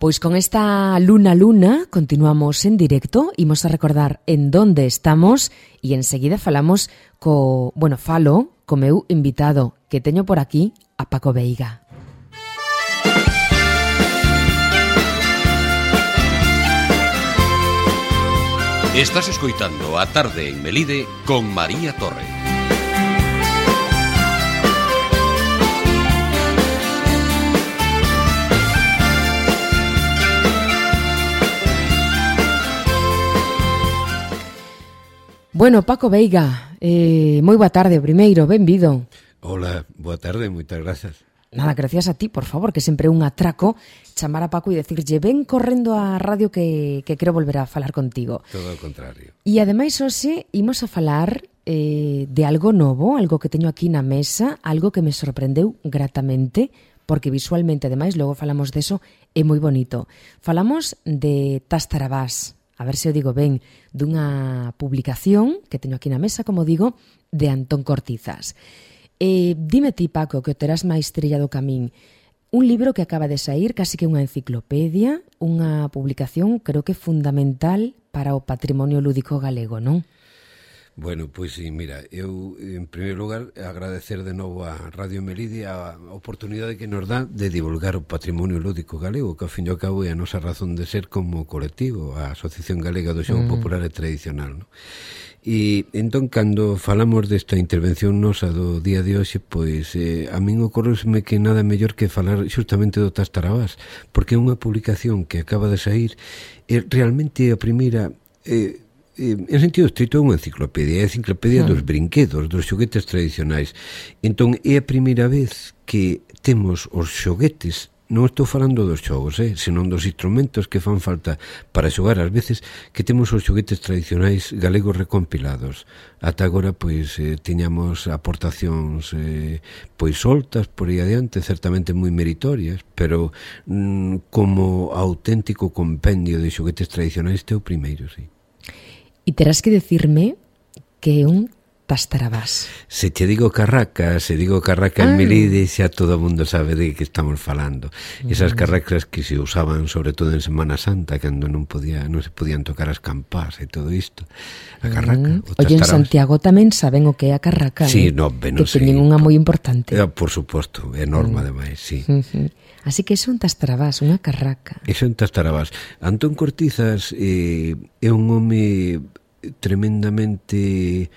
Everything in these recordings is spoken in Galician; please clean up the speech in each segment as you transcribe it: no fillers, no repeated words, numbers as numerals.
Pois con esta Luna continuamos en directo, imos a recordar en donde estamos e enseguida falamos falo co meu invitado que teño por aquí, a Paco Veiga. Estás escoitando A Tarde en Melide con María Torre. Bueno, Paco Veiga, moi boa tarde, primeiro, benvido. Hola, boa tarde, moitas grazas. Nada, gracias a ti, por favor, que sempre é un atraco chamar a Paco e decirlle ven correndo á radio que quero volver a falar contigo. Todo o contrario. E ademais, hoxe, imos a falar de algo novo, algo que teño aquí na mesa, algo que me sorprendeu gratamente, porque visualmente, ademais, logo falamos deso, é moi bonito. Falamos de Tastarabás, a ver se o digo ben, dunha publicación que teño aquí na mesa, como digo, de Antón Cortizas. Dime ti, Paco, que o terás máis trillado camín. Un libro que acaba de saír, casi que unha enciclopedia, unha publicación, creo que fundamental para o patrimonio lúdico galego, non? Bueno, pois sí, mira, eu, en primeiro lugar, agradecer de novo a Radio Melide a oportunidade que nos dá de divulgar o patrimonio lúdico galego, que ao fin e ao cabo é a nosa razón de ser como colectivo, a Asociación Galega do Xogo Popular e Tradicional, non? E entón, cando falamos desta intervención nosa do día de hoxe, pois a min ocorreu-me que nada mellor que falar xustamente do Tastarabás, porque é unha publicación que acaba de sair, realmente a primeira... en sentido estrito é unha enciclopedia, é a enciclopedia dos brinquedos, dos xoguetes tradicionais. Entón é a primeira vez que temos os xoguetes, non estou falando dos xogos, senón dos instrumentos que fan falta para xogar, ás veces que temos os xoguetes tradicionais galegos recompilados. Ata agora, pois, tiñamos aportacións pois soltas por aí adiante, certamente moi meritorias, pero como auténtico compendio de xoguetes tradicionais este é o primeiro, sí. E terás que decirme que é un Tastarabás. Se te digo carraca en Melide, xa todo o mundo sabe de que estamos falando. Esas carracas que se usaban sobre todo en Semana Santa, cando non se podían tocar as campás e todo isto. A carraca, o Tastarabás. Oye, en Santiago tamén saben o que é a carraca, sí, no, ben, que teñen unha moi importante. Por suposto, é norma ademais, sí. Así que é un Tastarabás, unha carraca. É un Tastarabás. Antón Cortizas é un home tremendamente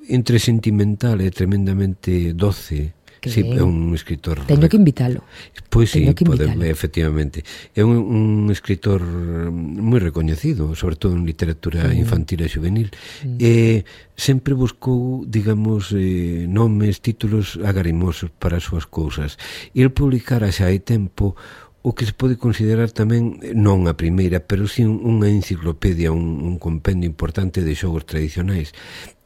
entre sentimental e tremendamente doce. Sí, é un escritor... Teño que invitalo. Pois sí, efectivamente. É un escritor moi recoñecido, sobre todo en literatura infantil e juvenil. Sempre buscou, digamos, nomes, títulos agarimosos para as súas cousas. E el publicara xa hai tempo o que se pode considerar tamén, non a primeira, pero sí unha enciclopedia, un compendio importante de xogos tradicionais.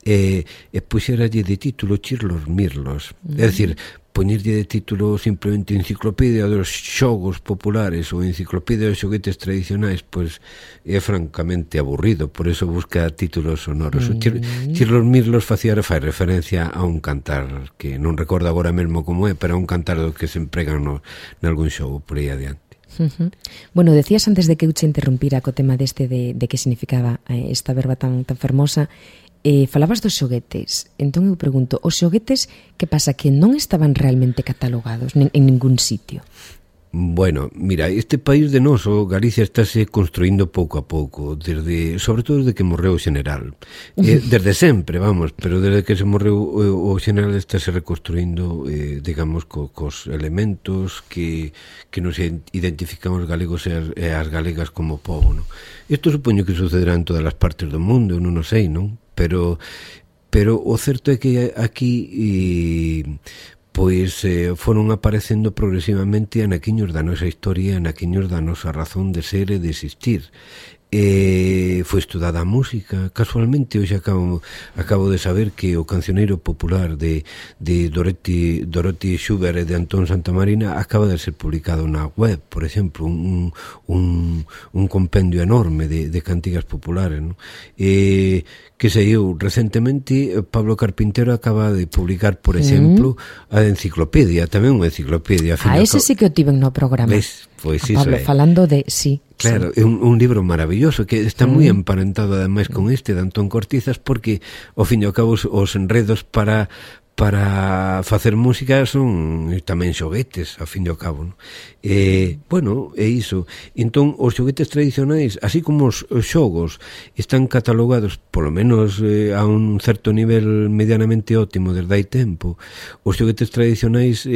E puxeralle de título Chirlos Mirlos, é dicir, poñerlle de título simplemente enciclopedia dos xogos populares ou enciclopedia dos xoguetes tradicionais, pois é francamente aburrido, por eso busca títulos sonoros. Chirlos Mirlos fai referencia a un cantar que non recordo agora mesmo como é, pero a un cantar do que se empregan nalgún xogo por aí adiante. Bueno, decías antes de que eu che interrumpira co tema deste de que significaba esta verba tan fermosa. Falabas dos xoguetes, entón eu pregunto, os xoguetes, que pasa, que non estaban realmente catalogados en ningún sitio? Bueno, mira, este país de noso, Galicia, estáse construindo pouco a pouco, sobre todo desde que morreu o xeneral. Desde sempre, vamos, pero desde que se morreu o xeneral estáse reconstruindo, digamos, cos elementos que nos identifican os galegos e as galegas como pobo, non? Isto supoño que sucederá en todas as partes do mundo, non o sei, non? Pero o certo é que aquí pois foron aparecendo progresivamente anaquiños da nosa historia, anaquiños da nosa razón de ser e de existir. Foi estudada a música. Casualmente hoxe acabo de saber que o cancioneiro popular de Dorothy Schubert e de Antón Santamarina acaba de ser publicado na web, por exemplo, un compendio enorme de cantigas populares, ¿no? Que saiu recentemente. Pablo Carpintero acaba de publicar, por exemplo, a enciclopedia, tamén unha enciclopedia. Ese sí que o tiven no programa. Ves? Pois a Pablo falando de sí. Claro, sí. É un libro maravilloso que está moi emparentado ademais con este de Antón Cortizas, porque ao fin e ao cabo os enredos para facer música son tamén xoguetes, ao fin e ao cabo, non? Bueno, é iso. Entón, os xoguetes tradicionais, así como os xogos, están catalogados, polo menos a un certo nivel medianamente óptimo desde hai tempo. Os xoguetes tradicionais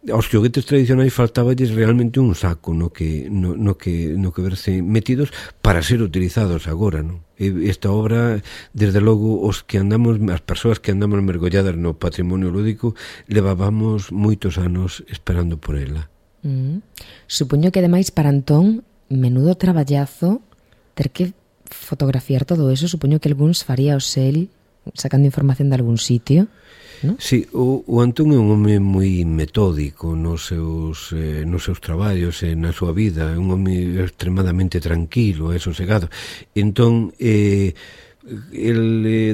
aos xoguetes tradicionais faltaballes realmente un saco no que verse metidos para ser utilizados agora, non? Esta obra, desde logo, as persoas que andamos mergolladas no patrimonio lúdico, levábamos moitos anos esperando por ela. Supoño que ademais para Antón, menudo traballazo ter que fotografiar todo eso. Supoño que algúns faría o sel sacando información de algún sitio, ¿no? Sí, o Antón é un home moi metódico nos seus traballos e na súa vida, é un home extremadamente tranquilo e sosegado. Entón, el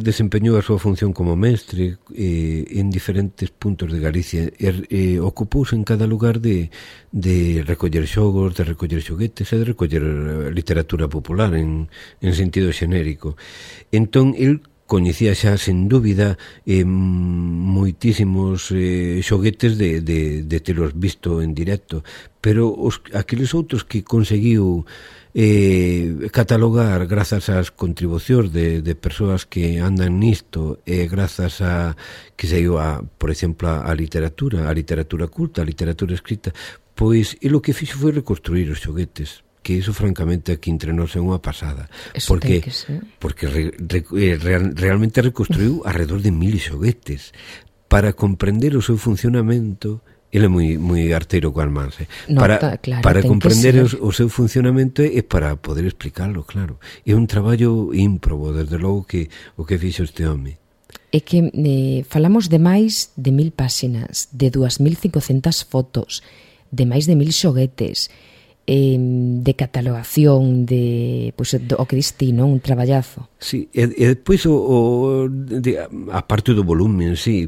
desempeñou a súa función como mestre en diferentes puntos de Galicia e ocupouse en cada lugar de recoller xogos, de recoller xoguetes e de recoller literatura popular en sentido xenérico. Entón, el coñecía xa, sen dúbida, moitísimos xoguetes de telos visto en directo, pero aqueles outros que conseguiu catalogar grazas ás contribucións de persoas que andan nisto e grazas a que saiu por exemplo, a literatura culta, a literatura escrita, pois o que fixo foi reconstruir os xoguetes, que iso francamente aquí entre nós é unha pasada, eso porque realmente reconstruiu alrededor de 1000 xoguetes para comprender o seu funcionamento. Ele é moi arteiro coas mans, para comprender o seu funcionamento e para poder explicarlo, claro. É un traballo ímprobo, desde logo, que o que fixo este home. É que falamos de máis de 1000 páxinas, de 2500 fotos, de máis de 1000 xoguetes, de catalogación, o que diste, non? Un traballazo. Sí, e depois a parte do volumen, sí,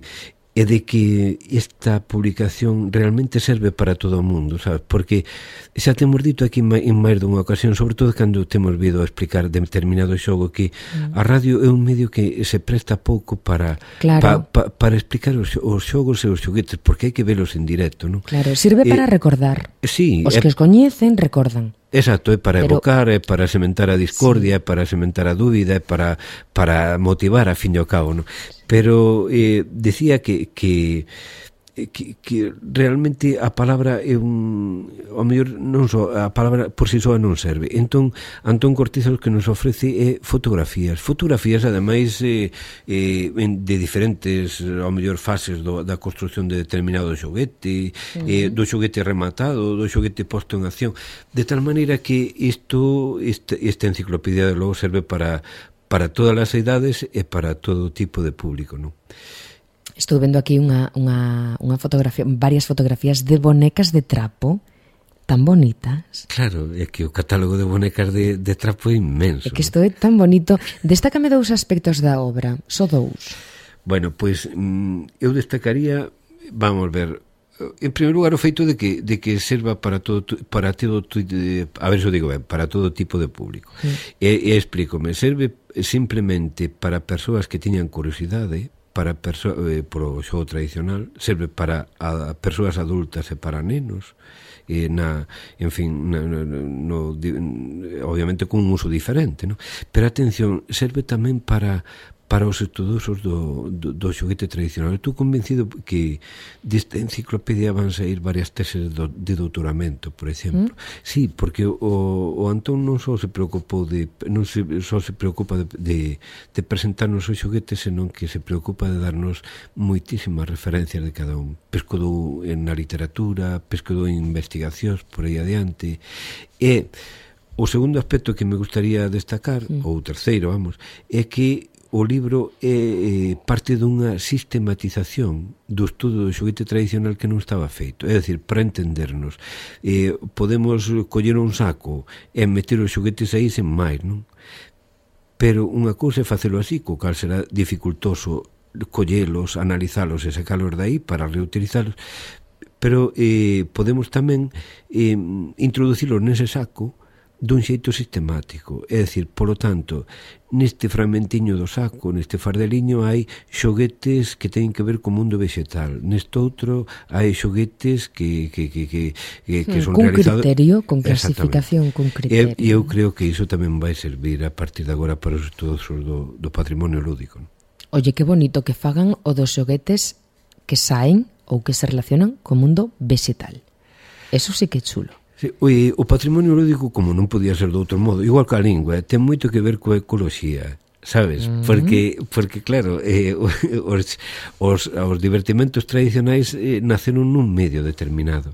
é de que esta publicación realmente serve para todo o mundo, sabes? Porque xa temos dito aquí en máis dunha ocasión, sobre todo cando temos vido a explicar determinado xogo, que a radio é un medio que se presta pouco para explicar os xogos e os xoguetes, porque hai que velos en directo, non? Claro, sirve para recordar. Sí, os que os coñecen recordan. Exacto, é para evocar, é para sementar a discordia, é para sementar a dúbida, é para motivar a fin e ao cabo, non? Pero decía que realmente a palabra é ao mellor non só a palabra por si soa non serve. Entón, Antón Cortizas o que nos ofrece é fotografías ademais de diferentes, ao mellor, fases da construción de determinado xoguete, do xoguete rematado, do xoguete posto en acción, de tal maneira que esta enciclopedia de logo serve para todas as idades e para todo tipo de público, non? Estou vendo aquí unha fotografía, varias fotografías de bonecas de trapo tan bonitas. Claro, é que o catálogo de bonecas de trapo é inmenso. É que isto é tan bonito. Destácame 2 aspectos da obra, só 2. Bueno, pois eu destacaría, vamos ver, en primeiro lugar o feito de que serva para todo a ver se o digo ben, para todo tipo de público. E explícome, serve simplemente para persoas que tiñan curiosidade, para polo xogo tradicional, serve para persoas adultas e para nenos, obviamente con un uso diferente, ¿no? Pero atención, serve tamén para os estudosos do xoguete tradicional. Estou convencido que desta enciclopedia van sair varias teses de doutoramento, por exemplo. Sí, porque o Antón non só se preocupa de presentarnos os xoguetes, senón que se preocupa de darnos moitísimas referencias de cada un. Pescodou na literatura, pescodou en investigacións, por aí adiante. E o segundo aspecto que me gustaría destacar, ou o terceiro, vamos, é que o libro é parte dunha sistematización do estudo do xoguete tradicional que non estaba feito. É dicir, para entendernos, podemos coller un saco e meter os xoguetes aí sen máis, non? Pero unha cousa é facelo así, co cal será dificultoso collelos, analizalos e sacalos de aí para reutilizalos. pero podemos tamén introducirlos nese saco dun xeito sistemático, é dicir, polo tanto, neste fragmentiño do saco, neste fardeliño hai xoguetes que teñen que ver co mundo vegetal, neste outro hai xoguetes que son realizados con criterio, con clasificación, con criterio. E eu creo que iso tamén vai servir a partir de agora para os estudos do patrimonio lúdico. Oye, que bonito que fagan o dos xoguetes que saen ou que se relacionan co mundo vegetal. Eso sí que é chulo. Sí, o patrimonio lúdico, como non podía ser de outro modo, igual que a lingua, ten moito que ver coa ecoloxía, sabes? Porque claro, os divertimentos tradicionais naceron nun medio determinado.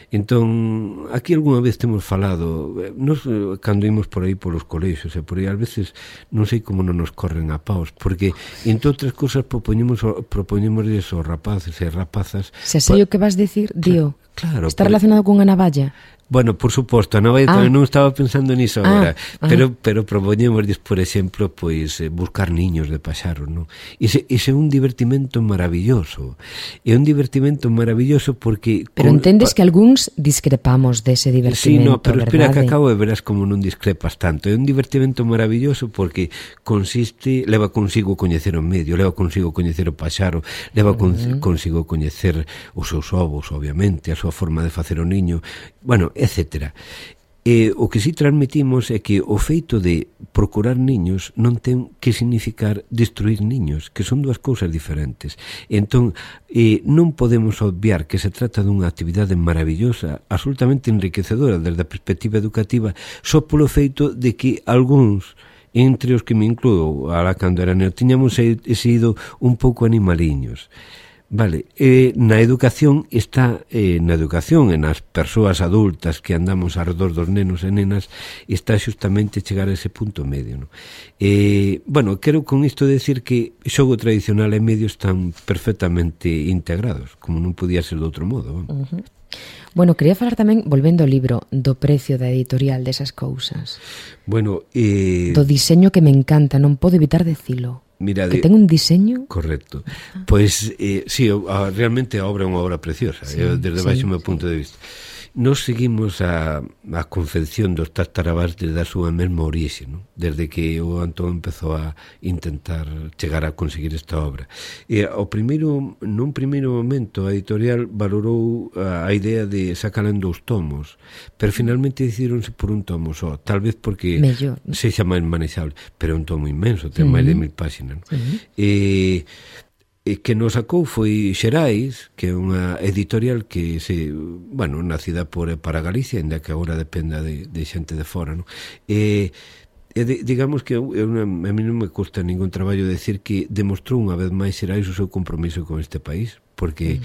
Entón, aquí algunha vez temos falado, nos cando imos por aí polos colexios e por aí, ás veces non sei como non nos corren a paus, porque entre outras cousas propoñemos aos rapaces e rapazas. Se sei o que vas dicir, Dio, claro, está relacionado cunha navalla. Bueno, por suposto, a navalla tamén non estaba pensando niso agora, pero propoñémosles, por exemplo, pois buscar niños de paxaros, non? Ese é un divertimento maravilloso. É un divertimento maravilloso porque... Pero entendes que algúns discrepamos dese divertimento, sí, no, pero espera verdade? Que acabo e verás como non discrepas tanto. É un divertimento maravilloso porque leva consigo coñecer o medio, leva consigo coñecer o paxaro, leva consigo coñecer os seus ovos, obviamente, a súa forma de facer o niño, bueno, etcétera. O que si transmitimos é que o feito de procurar niños non ten que significar destruir niños, que son dúas cousas diferentes. Entón, non podemos obviar que se trata dunha actividade maravillosa, absolutamente enriquecedora desde a perspectiva educativa, só polo feito de que algúns, entre os que me incluo, alá cando era neo, tiñamos sido un pouco animaliños. Vale, na educación está, na educación e nas persoas adultas que andamos alrededor dos nenos e nenas, está xustamente chegar a ese punto medio, non? Bueno, quero con isto decir que xogo tradicional e medio están perfectamente integrados, como non podía ser de outro modo. Bueno, quería falar tamén, volvendo ao libro, do precio da editorial desas cousas. Bueno, do diseño que me encanta, non podo evitar decilo. Mira, que ten un diseño... Correcto. Pois, sí, realmente a obra é unha obra preciosa, desde baixo o meu punto de vista. Nos seguimos a confección dos Tartarabás desde a súa mesma orixe, non? Desde que o Antón empezou a intentar chegar a conseguir esta obra. Nun primeiro momento a editorial valorou a idea de sacarla en 2 tomos, pero finalmente decidíronse por un tomo só, tal vez porque sexa máis manexable, pero é un tomo inmenso, ten máis de 1000 páxinas, non? Que nos sacou foi Xerais, que é unha editorial que nacida para Galicia, ainda que agora dependa de xente de fora, non? Digamos que a mí non me custa ningún traballo decir que demostrou unha vez máis Xerais o seu compromiso con este país, porque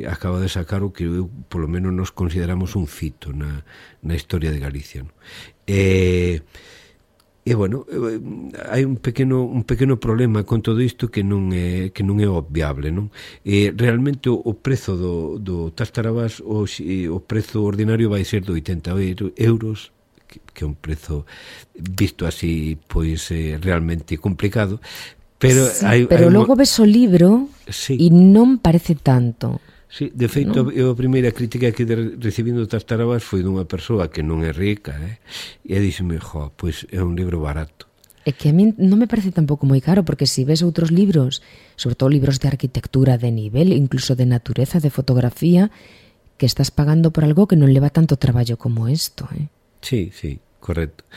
acaba de sacar o que polo menos nos consideramos un fito na historia de Galicia, non? E bueno, hai un pequeno problema con todo isto que non é obviable, non? Realmente o prezo do Tartarabás, o prezo ordinario vai ser de 80 euros, que é un prezo visto así, pois realmente complicado, pero pero logo ves o libro e non parece tanto. Sí, de feito, a primeira crítica que recibindo Tartarabás foi dunha persoa que non é rica, e díxeme, pois é un libro barato. É que a mí non me parece tampouco moi caro, porque se ves outros libros, sobre todo libros de arquitectura de nivel, incluso de natureza, de fotografía, que estás pagando por algo que non leva tanto traballo como isto, Sí, correcto.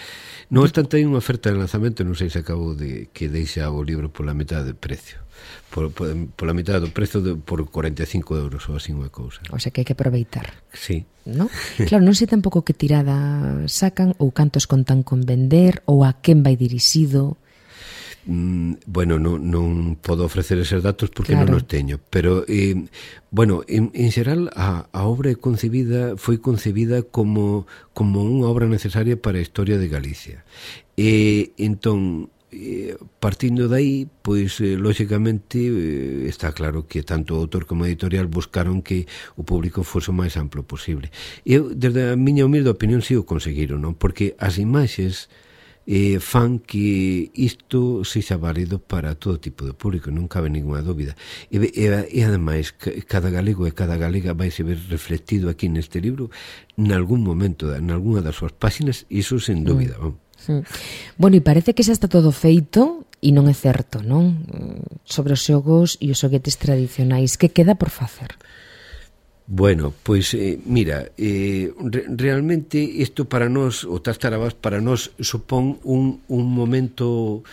Non obstante, hai unha oferta de lanzamento, non sei se acabo de que deixa o libro pola metade de precio. Pola mitad do prezo por 45 euros ou así unha cousa. O sea que hai que aproveitar. Sí. ¿No? Claro, non sei tampouco que tirada sacan ou cantos contan con vender ou a quen vai dirixido. Bueno, non podo ofrecer eses datos porque non os teño, pero bueno, en xeral a obra foi concebida como unha obra necesaria para a historia de Galicia. Entón, partindo de aí, pois lóxicamente está claro que tanto o autor como a editorial buscaron que o público fose o máis amplo posible. Eu, desde a miña humilde opinión, si o conseguiron, non? Porque as imaxes fan que isto sexa válido para todo tipo de público, non cabe ninguna dúbida. E ademais, cada galego e cada galega vai se ver reflectido aquí neste libro nalgún momento, nalgúna das súas páxinas, iso sen dúbida. Bueno, e parece que xa está todo feito e non é certo, non? Sobre os xogos e os xoguetes tradicionais, que queda por facer? Bueno, pois mira, realmente isto para nós, o Tastarabás para nós supón un momento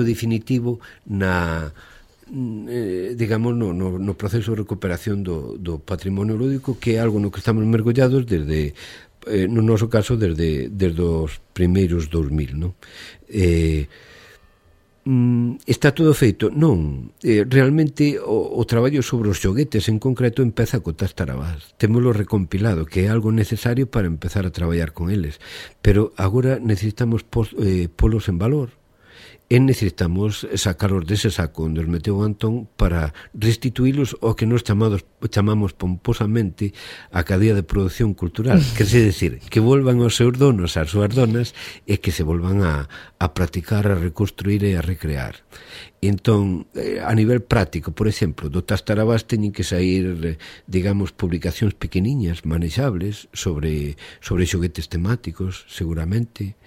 definitivo na digamos no proceso de recuperación do patrimonio lúdico, que é algo no que estamos mergollados desde no noso caso desde os primeiros 2000, non? Está todo feito? Non. Realmente o traballo sobre os xoguetes en concreto empeza co Tastarabás. Témolo recompilado, que é algo necesario para empezar a traballar con eles. Pero agora necesitamos polos en valor. E necesitamos sacaros dese saco onde os meteu Antón para restituílos ao que nos chamamos pomposamente a cadea de produción cultural, que é decir, que volvan aos seus donos, ás súas donas, e que se volvan a practicar, a reconstruir e a recrear. Entón, a nivel práctico, por exemplo, do Tastarabás teñen que sair, digamos, publicacións pequeniñas, manexables, sobre xoguetes temáticos, seguramente.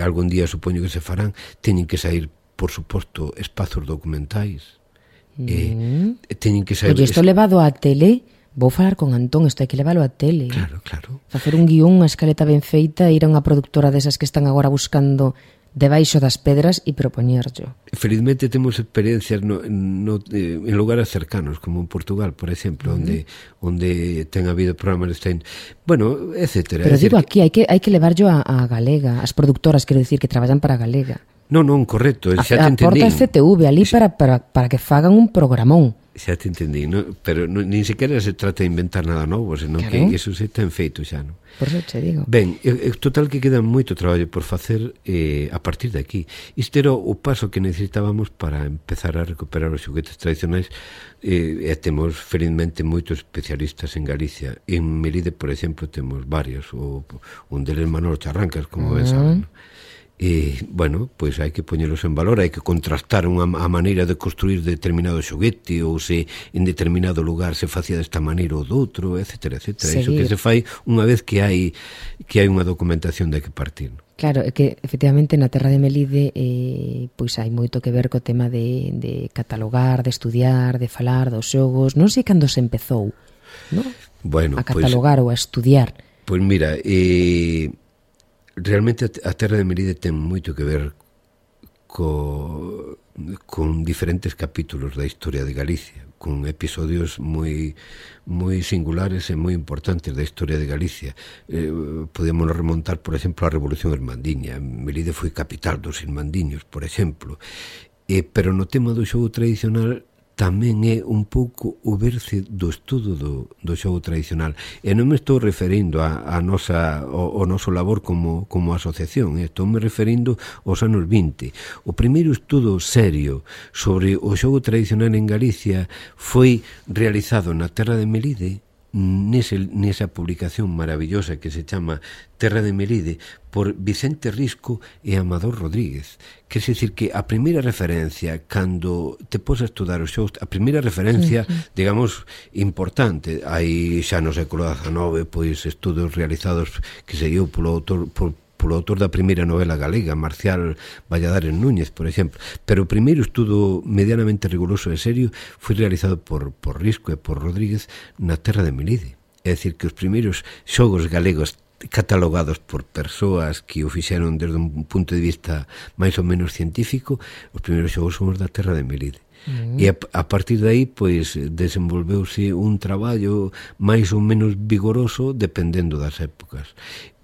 Algún día supoño que se farán. Teñen que sair, por suposto, espazos documentais. Teñen que sair... Oye, isto levado á tele... Vou falar con Antón, isto hai que leválo á tele. Claro. Facer un guión, unha escaleta ben feita, ir a unha productora desas que están agora buscando debaixo das pedras e propoñerlo. Felizmente temos experiencias en lugares cercanos, como en Portugal, por exemplo, onde ten habido programas de bueno, etcétera. Pero digo aquí, hai que levarlo a Galega, as productoras, quero dicir, que traballan para Galega. Non, correcto, xa te entendí. Aporta a CTV ali para que fagan un programón. Xa te entendí, pero nin sequera se trata de inventar nada novo, senón que iso se ten feito xa, non? Por eso te digo. Ben, total que queda moito traballo por facer a partir de aquí. Isto era o paso que necesitábamos para empezar a recuperar os xoguetes tradicionais, e temos felizmente moitos especialistas en Galicia. En Melide, por exemplo, temos varios, un deles Manolo Charrancas, como ben saben, non? Bueno, pois hai que poñelos en valor, hai que contrastar a maneira de construir determinado xoguete, ou se en determinado lugar se facía desta maneira ou doutro, etcétera. Iso que se fai unha vez que hai unha documentación de que partir. Claro, é que efectivamente na terra de Melide pois hai moito que ver co tema de catalogar, de estudiar, de falar dos xogos. Non sei cando se empezou, non? Bueno, a catalogar ou a estudiar. Pois mira, realmente a terra de Melide ten moito que ver con diferentes capítulos da historia de Galicia, con episodios moi singulares e moi importantes da historia de Galicia. Podemos remontar, por exemplo, a Revolución Irmandiña. Melide foi capital dos irmandiños, por exemplo. Pero no tema do xogo tradicional tamén é un pouco o berce do estudo do xogo tradicional. E non me estou referindo ao noso labor como asociación, estou me referindo aos anos 20. O primeiro estudo serio sobre o xogo tradicional en Galicia foi realizado na terra de Melide, nesa publicación maravillosa que se chama Terra de Melide, por Vicente Risco e Amador Rodríguez. Quer decir que a primeira referencia, cando te pos a estudar os xogos, a primeira referencia, digamos, importante, hai xa no século XIX, pois estudos realizados que se dio polo autor da primeira novela galega, Marcial Valladares Núñez, por exemplo. Pero o primeiro estudo medianamente riguroso e serio foi realizado por Risco e por Rodríguez na terra de Melide. É dicir, que os primeiros xogos galegos catalogados por persoas que o fixeron desde un punto de vista máis ou menos científico, os primeiros xogos son os da terra de Melide. E a partir de aí, pois, desenvolveuse un traballo máis ou menos vigoroso dependendo das épocas.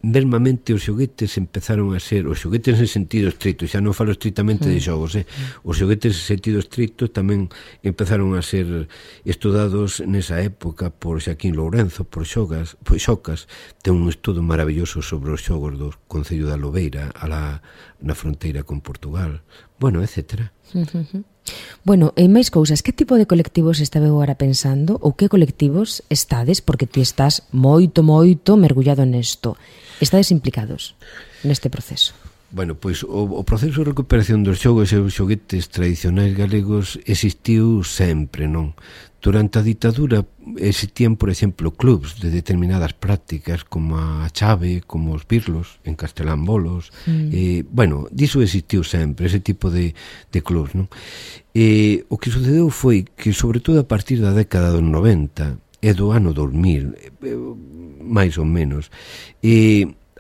Mesmamente os xoguetes empezaron a ser, os xoguetes en sentido estricto, xa non falo estritamente de xogos, os xoguetes en sentido estricto tamén empezaron a ser estudados nesa época por Xaquín Lourenzo, por Xocas, ten un estudo maravilloso sobre os xogos do Concello da Lobeira na fronteira con Portugal, bueno, etcétera. Bueno, e máis cousas, que tipo de colectivos estaba agora pensando, ou que colectivos estades, porque ti estás moito mergullado nesto, estades implicados neste proceso? Bueno, pois o proceso de recuperación dos xogos e os xoguetes tradicionais galegos existiu sempre, non? Durante a ditadura existían, por exemplo, clubs de determinadas prácticas como a chave, como os birlos en Castelán Bolos. Bueno, diso existiu sempre, ese tipo de clubs, non? O que sucedeu foi que, sobre todo a partir da década dos 90 e do ano 2000, máis ou menos,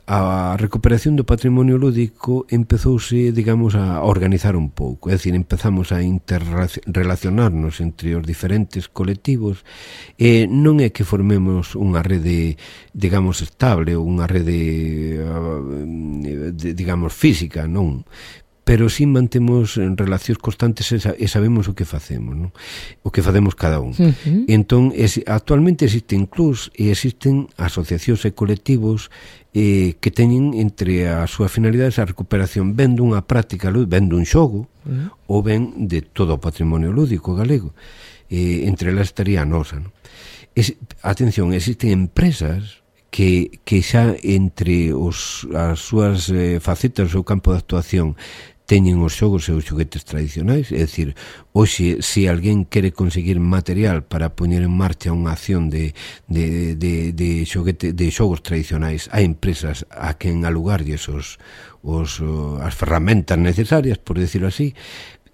a recuperación do patrimonio lúdico empezouse, digamos, a organizar un pouco, é dicir, empezamos a interrelacionarnos entre os diferentes colectivos, e non é que formemos unha rede, digamos, estable, ou unha rede, digamos, física, non, pero si mantemos relacións constantes e sabemos o que facemos, non? O que facemos cada un. Entón, actualmente existen clubs e existen asociacións e colectivos que teñen entre as súas finalidades a recuperación ben dunha práctica, ben dun xogo, ou ben de todo o patrimonio lúdico galego. Entre elas estaría a nosa, non? Atención, existen empresas que xa entre as súas facetas, o seu campo de actuación, teñen os xogos e os xoguetes tradicionais, é dicir, hoxe, se alguén quere conseguir material para poñer en marcha unha acción de xogos tradicionais, hai empresas a quen alugarlles as ferramentas necesarias, por decirlo así,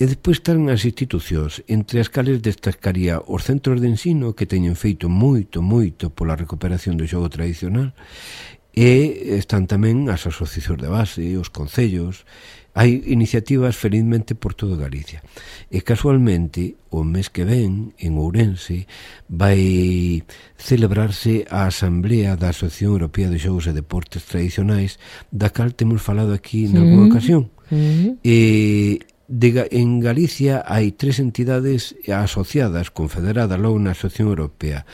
e despois están as institucións, entre as cales destacaría os centros de ensino que teñen feito moito pola recuperación do xogo tradicional, e están tamén as asociacións de base, os concellos. Hai iniciativas felizmente por todo Galicia. E casualmente, o mes que ven, en Ourense, vai celebrarse a Asamblea da Asociación Europea de Xogos e Deportes Tradicionais, da cal temos falado aquí en alguna ocasión. En Galicia hai 3 entidades asociadas, confederadas logo na Asociación Europea.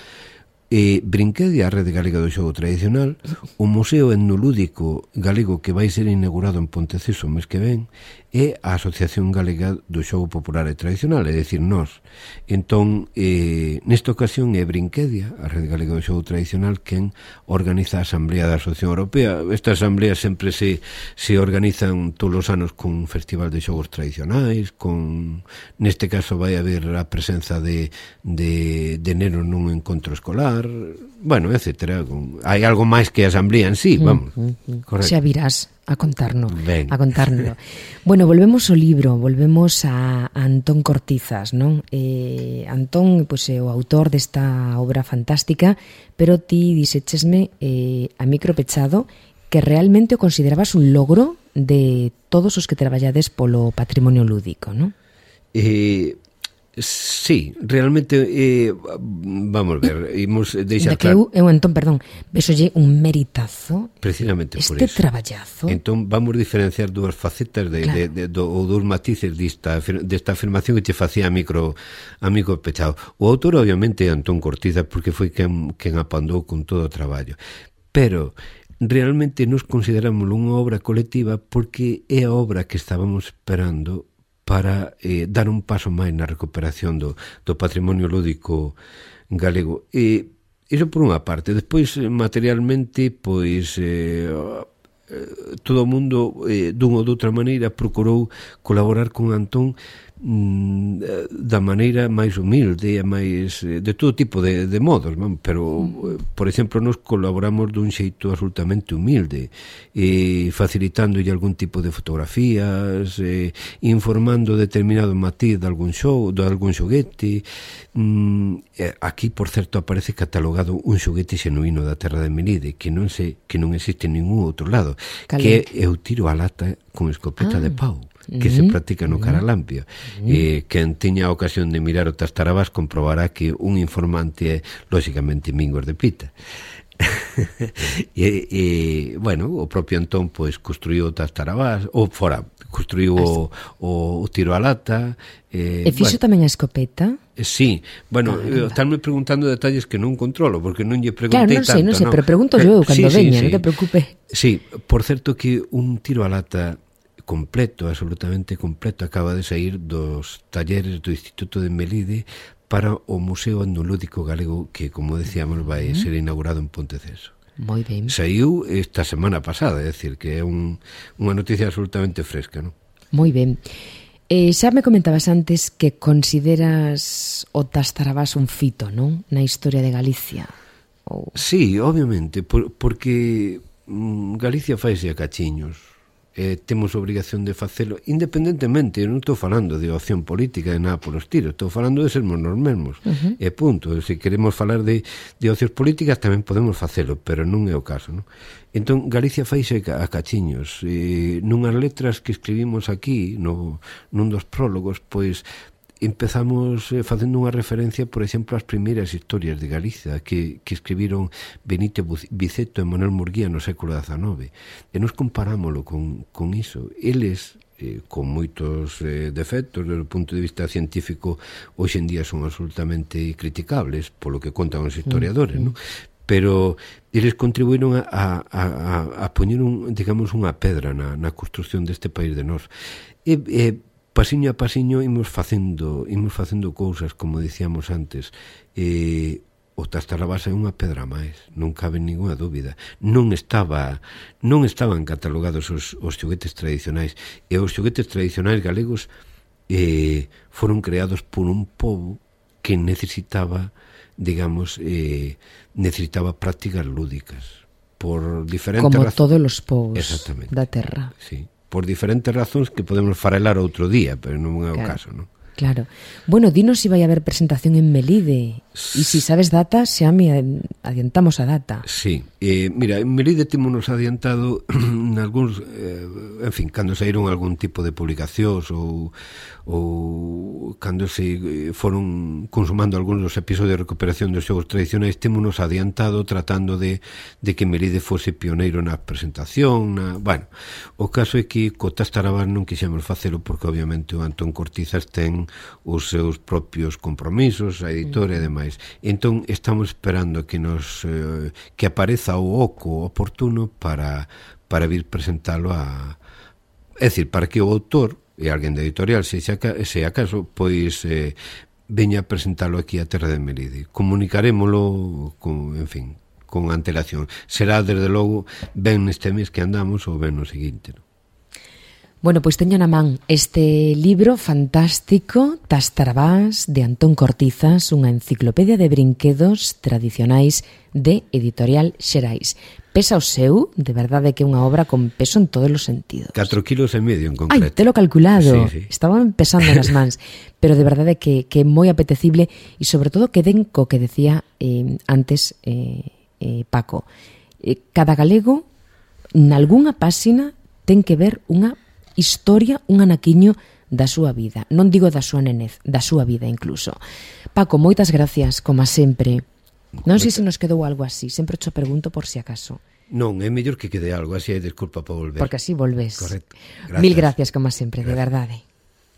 Brinquedia, a Rede Galega do Xogo Tradicional, o Museo Etnolúdico Galego que vai ser inaugurado en Ponteceso o mes que ven, e a Asociación Galega do Xogo Popular e Tradicional, é dicir, nós. Entón, nesta ocasión é Brinquedia, a Rede Galega do Xogo Tradicional, quen organiza a Asamblea da Asociación Europea. Esta asamblea sempre se organizan todos os anos con un festival de xogos tradicionais, neste caso vai haber a presenza de nenos nun encontro escolar, bueno, etcétera. Hai algo máis que a asamblea en sí, vamos. Correcto. Xa virás a contárnoslo. Bueno, volvemos ao libro, volvemos a Antón Cortizas, non? Antón, pois, é o autor desta obra fantástica, pero ti dixéchesme a micro pechado que realmente o considerabas un logro de todos os que traballades polo patrimonio lúdico, non? Sí, realmente vamos ver, imos deixar claro. Eu entón, perdón, vexolle un meritazo precisamente por este traballazo. Entón vamos diferenciar dúas facetas ou dous matices desta afirmación que te facía a micro pechado. O autor obviamente é Antón Cortizas, porque foi quen apandou con todo o traballo, pero realmente nos consideramos unha obra colectiva porque é a obra que estábamos esperando para dar un paso máis na recuperación do patrimonio lúdico galego. Iso por unha parte. Despois, materialmente, pois todo o mundo, dunha ou doutra maneira, procurou colaborar con Antón da maneira máis humilde e máis de todo tipo de modos, pero por exemplo nos colaboramos dun xeito absolutamente humilde, facilitándolle algún tipo de fotografías, informando determinado matiz de algún xoguete. Aquí, por certo, aparece catalogado un xoguete xenuíno da terra de Melide que non existe en ningún outro lado, que é o tiro á lata con escopeta de pau, que se practica no Caralampio. Quen teña a ocasión de mirar o Tastarabás comprobará que un informante é, lóxicamente, Mingos de Pita. Bueno, o propio Antón pois construiu o Tastarabás, construiu o tiro á lata. E fixo tamén a escopeta? Sí, bueno, estánme preguntando detalles que non controlo, porque non lle preguntei tanto. Non sei, pero pregunto eu cando veña, non te preocupes. Sí, por certo que un tiro á lata completo, absolutamente completo, acaba de sair dos talleres do Instituto de Melide para o Museo Etnolúdico Galego que, como decíamos, vai ser inaugurado en Ponteceso. Moi ben. Saiu esta semana pasada, é dicir, que é unha noticia absolutamente fresca, non? Moi ben. Xa me comentabas antes que consideras o Tastarabás un fito, non? Na historia de Galicia. Sí, obviamente, porque Galicia faise a cachiños. Temos obrigación de facelo independentemente, eu non estou falando de opción política de nada polos tiros, estou falando de sermos nos mesmos, e punto. Se queremos falar de opcións políticas tamén podemos facelo, pero non é o caso, non? Entón, Galicia faise a cachiños, nunhas letras que escribimos aquí nun dos prólogos, pois empezamos facendo unha referencia, por exemplo, ás primeiras historias de Galicia que escribiron Benito Viceto e Manuel Murguía no século XIX, e nos comparámoslo con iso. Eles, con moitos defectos desde o punto de vista científico, hoxe en día son absolutamente criticables polo que contan os historiadores, non? Pero eles contribuíron a poñer digamos unha pedra na construción deste país de nós. Pasiño a pasiño imos facendo cousas, como dicíamos antes. O Tastarabás é unha pedra máis, non cabe ninguna dúbida. Non estaban catalogados os xoguetes tradicionais, e os xoguetes tradicionais galegos foron creados por un pobo que necesitaba, digamos, necesitaba prácticas lúdicas por diferentes como todos os povos da terra. Sí, por diferentes razóns que podemos farelar outro día, pero non é o caso, non? Claro. Bueno, dinos se vai haber presentación en Melide. E se sabes data, xa me adiantamos a data. Sí. Mira, en Melide temos adiantado nalgúns, en fin, cando saíron algún tipo de publicacións ou cando se foron consumando algúns dos episodios de recuperación dos xogos tradicionais, temos adiantado tratando de que Melide fose pioneiro na presentación. Bueno, o caso é que co Tastarabás non quixemos facelo porque obviamente o Antón Cortizas ten os seus propios compromisos, a editora e demais. Entón estamos esperando que que apareza o oco oportuno para vir presentalo é dicir, para que o autor e alguén da editorial, se acaso, pois veña a presentalo aquí a terra de Melide. Comunicarémolo con antelación. Será, desde logo, ben neste mes que andamos ou ben no seguinte, non? Bueno, pois teño na man este libro fantástico, Tastarabás, de Antón Cortizas, unha enciclopedia de brinquedos tradicionais de Editorial Xerais. Pesa o seu, de verdade que é unha obra con peso en todos os sentidos. 4,5 kilos en concreto. Ai, te lo calculado. Sí. Estaban pesando nas mans. Pero de verdade que é moi apetecible e sobre todo que den co que decía antes Paco. Cada galego, nalgúnha páxina, ten que ver unha historia, un anaquiño da súa vida. Non digo da súa nenez, da súa vida incluso. Paco, moitas gracias, como sempre. Non sei se nos quedou algo así, sempre te pregunto por si acaso. Non, é mellor que quede algo, así hai desculpa para volver. Porque así volves. Correcto. Gracias. Mil gracias, como sempre, de verdade.